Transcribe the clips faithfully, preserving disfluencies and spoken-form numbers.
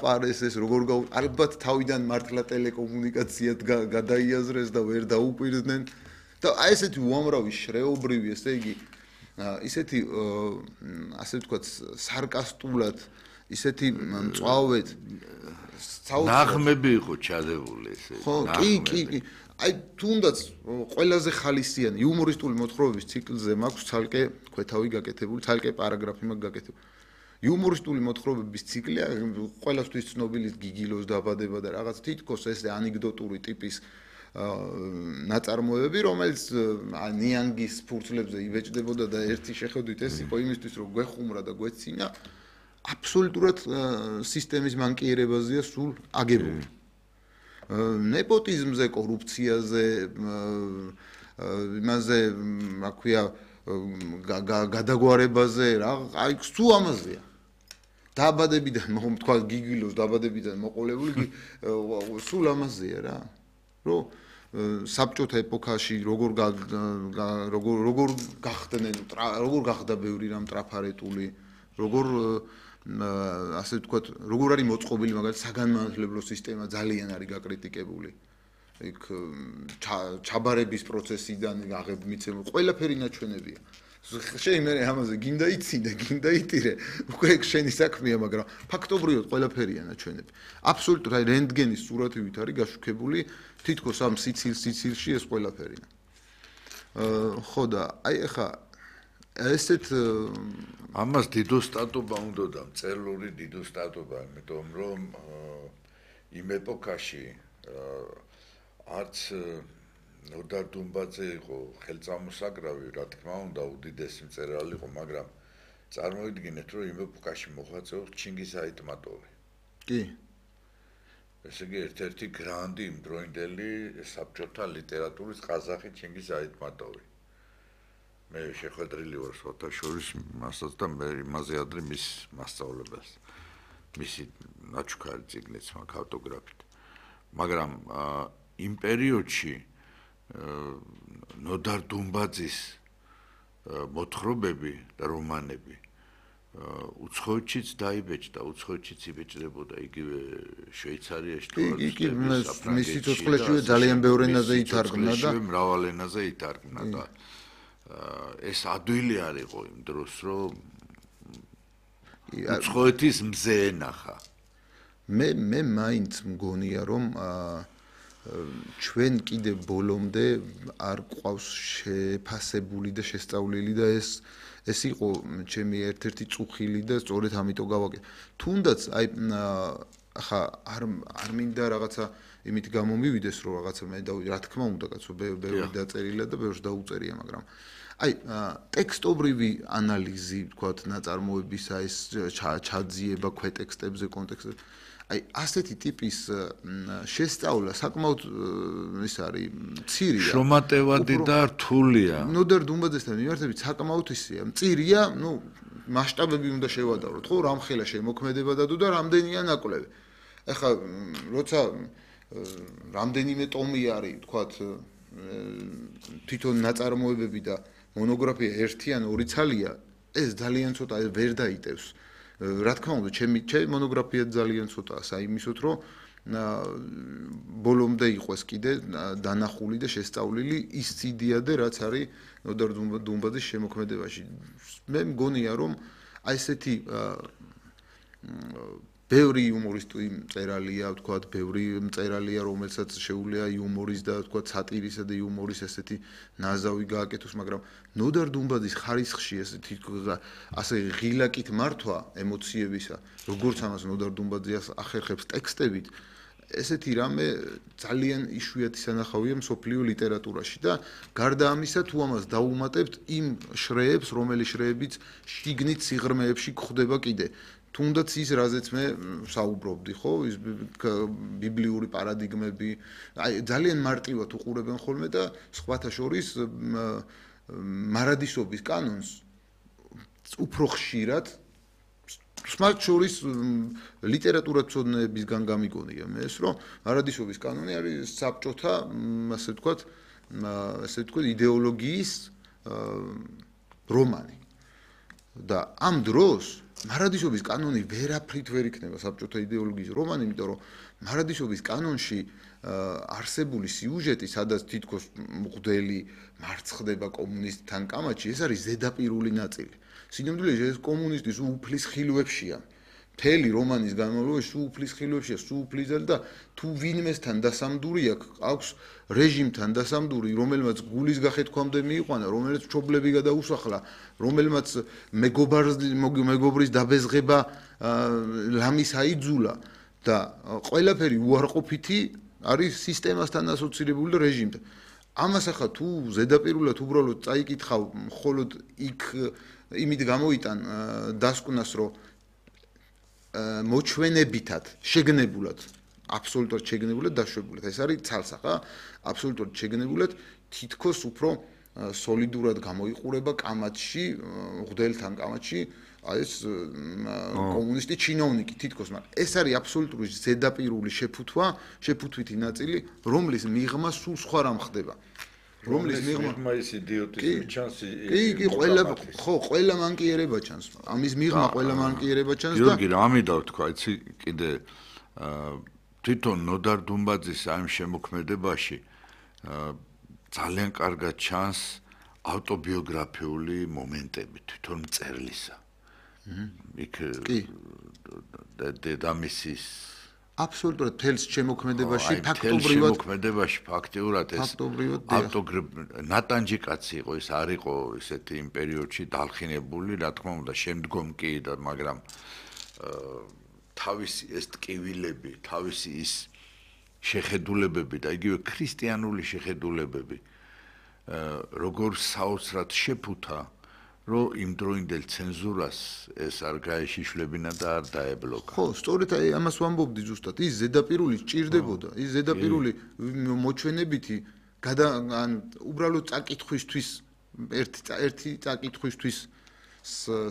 პარეს ეს როგორ გაუ ალბათ თავიდან მართლა ტელეკომუნიკაციად გადაიაზრეს და ვერ დაუკვირდნენ და აი ესეთი უამრავი შრეობრივი ესე იგი ისეთი ასე ვთქვათ სარკასტულად ისეთი მწვავედ ნაღმები იყო ჩადებული ესე ხო კი კი კი აი თუნდაც ყველაზე ხალისიანი იუმორისტული მოთხრობების ციკლზე მაქვს ცალკე ქვეთავი გაკეთებული ცალკე პარაგრაფი მაქვს გაკეთებული იუმორისტული მოთხრობების ციკლია ყველასთვის ცნობილი გიგილოს დაბადება და რაღაც თითქოს ეს ანეკდოტური ტიპის ნაწარმოებები რომელიც ნიანგის ფურცლებზე იბეჭდებოდა და ერთი შეხედვით ეს იყო იმისთვის რომ გვეხუმრა და გვეცინა აბსოლუტურად სისტემის მანკიერებაზეა სულ აგებული ნეპოტიზმზე კორუფციაზე იმაზე რა ქვია გადაგვარებაზე რა აი სულ ამაზეა დაბადებიდან თქვა გიგილოს დაბადებიდან მოყოლებული სულ ამაზეა რა რომ საბჭოთა ეპოქაში როგორ როგორ როგორ გახდნენ როგორ გახდა ბევრი რამ ტრაფარეტული როგორ ასე ვთქვათ როგორ არის მოწყობილი მაგალითად საგანმანათლებლო სისტემა ძალიან არის გაკრიტიკებული იქ ჩაბარების პროცესიდან აღებმიცემ ყველაფერი ნაჩვენებია შენ მე ამაზე გინდა იცი და გინდა იტირე უკვე ეგ შენი საქმეა მაგრამ ფაქტობრივად ყველაფერია ნაჩვენები აბსოლუტურად აი რენტგენის სურათივით არის გაშუქებული თითქოს ამ სიცილ სიცილში ეს ყველაფერი ხო და აი ახლა ესეთ ამას დიდო სტატობა უნდა და მწერლური დიდო სტატობა იმიტომ რომ იმ ეპოქაში არც ნოდარ დუმბაძე იყო ხელწამოსაგრავი, რა თქმა უნდა, უდიდესი მწერალი იყო, მაგრამ წარმოიდგინეთ, რომ იმ ეპოქაში მოღვაწეობს ჩინგიზ აიტმატოვი. კი. ესე იგი, ერთ-ერთი გრანდი იმდროინდელი საბჭოთა ლიტერატურის ყაზახი ჩინგიზ აიტმატოვი. მე შეხვედრილი ვარ სოთაშორის მასაც და მე იმაზე ადრე მის მასწავლებას. მისი ნაჩუქარი წიგნიც მაქვს ავტოგრაფით. მაგრამ იმ პერიოდში ნოდარ დუმბაძის მოთხრობები და რომანები უცხოეთშიც დაიბეჭდა, უცხოეთშიც იბეჭდებოდა იგივე შვეიცარიაში თუ კი, კი, მისი სიცოცხლეშივე ძალიან ბევრ ენაზე ითარგმნა და მრავალ ენაზე ითარგმნა და ეს ადვილი არ იყო იმ დროს, რომ უცხოეთის მზე ენახა. მე მე მაინც მგონია რომ ჩვენ კიდე ბოლომდე არ ყავს შეფასებული და შესწავლილი და ეს ეს იყო ჩემი ერთ-ერთი წუხილი და სწორედ ამიტომ გავაკეთე. თუნდაც აი ახლა არ არ მინდა რაღაცა იმით გამომივიდეს რომ რაღაცა მე და რა თქმა უნდა კაცო ბევრი დაწერილა და ბევრს დაუწერია მაგრამ აი ტექსტობრივი ანალიზი ვთქვათ ნაწარმოებისა ეს ჩაძიება ქვეტექსტებზე კონტექსტებზე აი ასეთი ტიპის შესწავლა საკმაოდ ის არის მცირეა შრომატევადი და რთულია ნოდარ დუმბაძესთან მიმართებით საკმაოდ ისია მცირეა ნუ მასშტაბები უნდა შევადაროთ ხო რამხელა შემოქმედება დადო და რამდენია ნაკვლევი ეხლა როცა რამდენიმე ტომი არის ვთქვათ თვითონ ნაწარმოებები და მონოგრაფია ერთი ან ორი ცალია ეს ძალიან ცოტა ვერ დაიტევს რა თქმა უნდა ჩემი ჩემი მონოგრაფია ძალიან ცოტაა საიმისოთ რომ ბოლომდე იყოს კიდე დანახული და შესწავლილი ის ციდიადე რაც არის ნოდარ დუმბაძის შემოქმედებაში მე მგონია რომ აი ესეთი ბევრი იუმორისტი მწერალია ვთქვათ ბევრი მწერალია რომელსაც შეუძლია იუმორის და ვთქვათ სატირისა და იუმორის ესეთი ნაზავი გააკეთოს მაგრამ ნოდარ დუმბაძის ხარისხში ესეთი ასე ღილაკით მართვა ემოციებისა როგორც ამას ნოდარ დუმბაძე ახერხებს ტექსტებით ესეთი რამე ძალიან იშვიათი სანახავია მსოფლიო ლიტერატურაში და გარდა ამისა თუ ამას დაუმატებთ იმ შრეებს რომელიც შრეებიც შიგნით სიღრმეებში გვხვდება კიდე თუნდაც ის რაზეც მე საუბრობდი ხო ის ბიბლიური პარადიგმები აი ძალიან მარტივად უყურებენ ხოლმე და სხვათა შორის მარადისობის კანონს უფრო ხშირად მათ შორის ლიტერატურაცოდნეებისგან გამიგონია მე ეს რომ მარადისობის კანონი არის საბჭოთა ასე ვთქვათ ასე ვთქვათ იდეოლოგიის რომანი და ამ დროს მარადისობის კანონი ვერაფრით ვერ იქნება საბჭოთა იდეოლოგიის რომანი, იმიტომ რომ მარადისობის კანონში არსებული სიუჟეტი, სადაც თითქოს მღვდელი მარცხდება კომუნისტთან კამათში, ეს არის ზედაპირული ნაწილი. სინამდვილეში ეს კომუნისტის უფლის ხილვებშია. მთელი რომანის განმავლობაში სულ უფლის ხილვებშია, სულ უფლისად და თუ ვინმესთან დასამდური აქვს რეჟიმთან დასამდური, რომელმაც გულის გახეთქვამდე მიიყვანა, რომელიც მშობლები გადაუსახლა, რომელმაც მეგობრის დაბეზღება ლამის აიძულა და ყველაფერი უარყოფითი არის სისტემასთან ასოცირებული და რეჟიმთან. ამას ახლა თუ ზედაპირულად უბრალოდ წაიკითხავ, მხოლოდ იქ იმით გამოიტან დასკვნას, რომ მოჩვენებითად, შეგნებულად, აბსოლუტურად შეგნებულად დაშვებულად. ეს არის ცალსახა, აბსოლუტურად შეგნებულად თითქოს უფრო სოლიდურად გამოიყურება კამათში, მღვდელთან კამათში, ეს კომუნისტი ჩინოვნიკი თითქოს, მაგრამ ეს არის აბსოლუტური ზედაპირული შეფუთვა, შეფუთვითი ნაწილი, რომლის მიღმა სულ სხვა რამ ხდება. რომლის მიღმა ის იდიოტიზმი ჩანს. კი, კი, ყველა ხო, ყველა მანკიერება ჩანს. ამის მიღმა ყველა მანკიერება ჩანს და გიორგი, რა მინდა ვთქვა, იცი, კიდე თვითონ ნოდარ დუმბაძის ამ შემოქმედებაში ძალიან კარგად ჩანს ავტობიოგრაფიული მომენტები თვითონ მწერლისა. იქ დედამისის აბსოლუტურად თელს შემოქმედებაში ფაქტობრივად შემოქმედებაში ფაქტიურად ეს ნატანჯი კაცი იყო, ეს არ იყო ესეთი იმ პერიოდში დალხინებული, რა თქმა უნდა, შემდგომ კი და მაგრამ თავისი ეს ტკივილები, თავისი ის შეხედულებები და იგივე ქრისტიანული შეხედულებები როგორ საოცრად შეფუთა, რომ იმდროინდელ ცენზურას ეს არ გაეშიშლებინა და არ დაებლოკა. ხო, სწორედ აი ამას ვამბობდი ზუსტად. ის ზედაპირული სჭირდებოდა, ის ზედაპირული მოჩვენებითი გადა ან უბრალოდ წაკითხვისთვის ერთი ერთი წაკითხვისთვის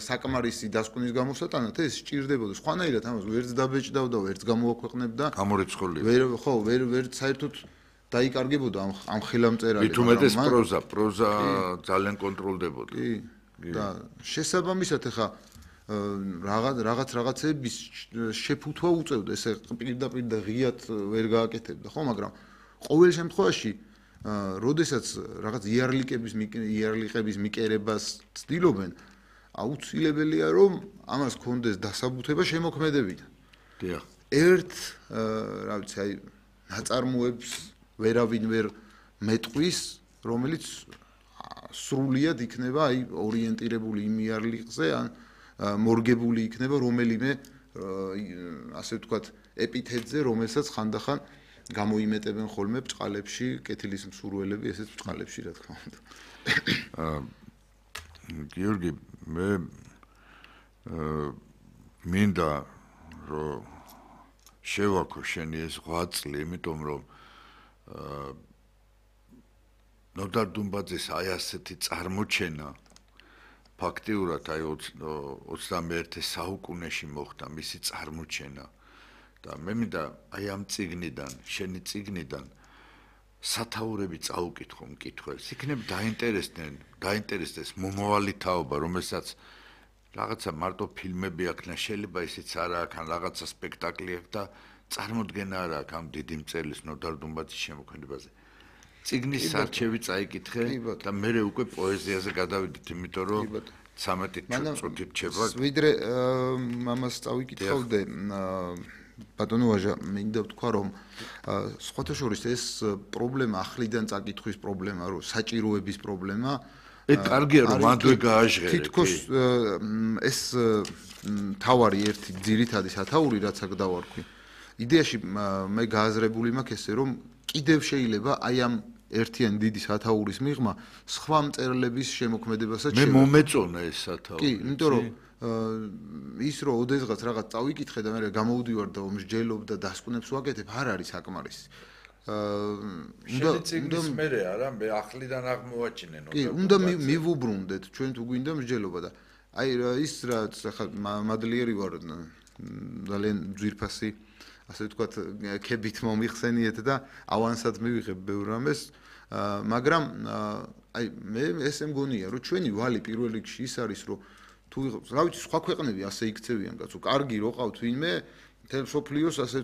საკმარისი დასკვნის გამოსატანად ეს სჭირდებოდა. სხვანაირად ამას ვერც დაბეჭდავდა, ვერც გამოაქვეყნებდა. გამორიცხული. ვერ ხო, ვერ ვერ საერთოდ დაიკარგებოდა ამ ამ ხელამწერალი. მით უმეტეს პროზა, პროზა ძალიან კონტროლდებოდა. კი. და შესაბამისად ახლა რაღაც რაღაც რაღაცების შეფუთვა უწევდა, ესე პირდაპირ და ღიად ვერ გააკეთებდა, ხო, მაგრამ ყოველ შემთხვევაში, როდესაც რაღაც იარლიკების იარლიყების მიკერებას ცდილობენ, აუცილებელია რომ ამას კონდეს დასაბუთება შემოქმედებიდან. დიახ. ერთ, რა ვიცი, აი ნაწარმოებს ვერავინ ვერ მეტყვის, რომელიც სრულიად იქნება აი ორიენტირებული იმ იარლიყზე ან მორგებული იქნება რომელიმე ასე ვთქვათ ეპითეტზე, რომელსაც ხანდახან გამოიმეტებენ ხოლმე ბჭყალებში, კეთილის მსურველები, ესეც ბჭყალებში, რა თქმა უნდა. გიორგი, მე მინდა რომ შევაქო შენი ეს ღვაწლი, იმიტომ რომ ნოდარ დუმბაძის აი ასეთი წარმოჩენა ფაქტიურად აი ოცდამეერთე საუკუნეში მოხდა მისი წარმოჩენა და მე მინდა აი ამ წიგნიდან, შენი წიგნიდან სათაურები წაუკითხო მკითხველს. იქნებ დაინტერესდნენ, დაინტერესდეს მომავალი თაობა, რომელსაც რაღაცა მარტო ფილმები აქვს, შეიძლება ისიც არა აქვს, ან რაღაცა სპექტაკლი აქვს და წარმოდგენა არა აქვს ამ დიდი მწერლის ნოდარ დუმბაძის შემოქმედებაზე. წიგნის სარჩევი წაიკითხე და მე უკვე პოეზიაზე გადავიდით, იმიტომ რომ ცამეტი წუთით რჩება. ვიდრე ამას წავიკითხავდე, ბატონო ვაჟა, მინდა ვთქვა, რომ სხვათა შორის ეს პრობლემა ახლიდან წაკითხვის პრობლემა, რომ საჭიროების პრობლემა, ეს კარგია რომ მანდვე გააჟღერე. თითქოს ეს თავარი ერთი ძირითადი სათაური, რაც აქ დავარქვი. იდეაში მე გააზრებული მაქვს ესე, რომ კიდევ შეიძლება აი ამ ერთიან დიდი სათაურის მიღმა სხვა მწერლების შემოქმედებასაც მე მომეწონა ეს სათაური. კი, იმიტომ რომ ის რომ ოდესღაც რაღაც წავიკითხე და მე გამოვდივარ და მსჯელობ და დასკვნებს ვაკეთებ, არ არის საკმარისი. უნდა წიგნის მერე არა, მე ახლიდან აღმოვაჩინე ნოდარ. კი, უნდა მივუბრუნდეთ, ჩვენ თუ გვინდა მსჯელობა და აი ის რაც ახლა მადლიერი ვარ ძალიან ძვირფასი ასე ვთქვათ, ქებით მომიხსენიეთ და ავანსად მივიღებ ბევრ რამეს, მაგრამ აი მე ესე მგონია, რომ ჩვენი ვალი პირველ რიგში ის არის, რომ თუ ვიღოთ, რა ვიცი, სხვა ქვეყნები ასე იქცევიან კაცო, კარგი რო ყავთ ვინმე, მთელ სოფლიოს ასე